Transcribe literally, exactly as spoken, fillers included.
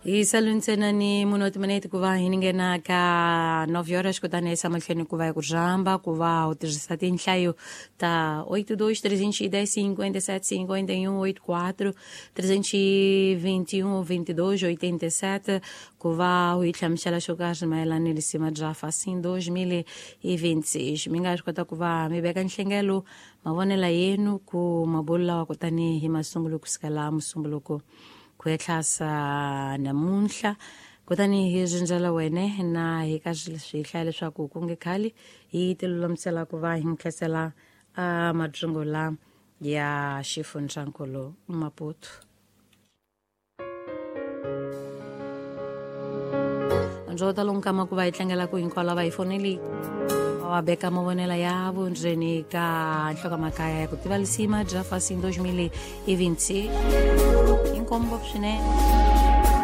Hi sale ntsena ni munhu wa timinete ku va hi nghena ka nove horas, kutani hi mahlweni ku va hi ku rhamba ku va u tirhisa tinhlayo ta oito dois trezentos e dez cinquenta e sete cinquenta e um oito quatro trezentos e vinte e um vinte e dois oitenta e sete ku va u hi hlamusela xo karhi mayelana ni lisima bya Facim dois mil e vinte e seis. Mi nga swi kota ku va mi veka nhlengelo mavonelo yenu ku mabulo lawa kutani hi masungulo kusukela musumbuluko ku etlhasa namuntlha, kutani hi rindzela wene na hi ka swi hlaya leswaku ku nge khali hi ti lulamisela ku va hi nkhentsela a madzungu ya xifundzankulu Maputo. Ndzo ta lonkama ku va hi tlangela ku hinkwavo lava hi foneli va beka mavonelo ya vundzeni ka nhlokomhaka ya ku tiva lisima bya Facim dois mil e vinte e seis. Inkomu ngopfu swinene.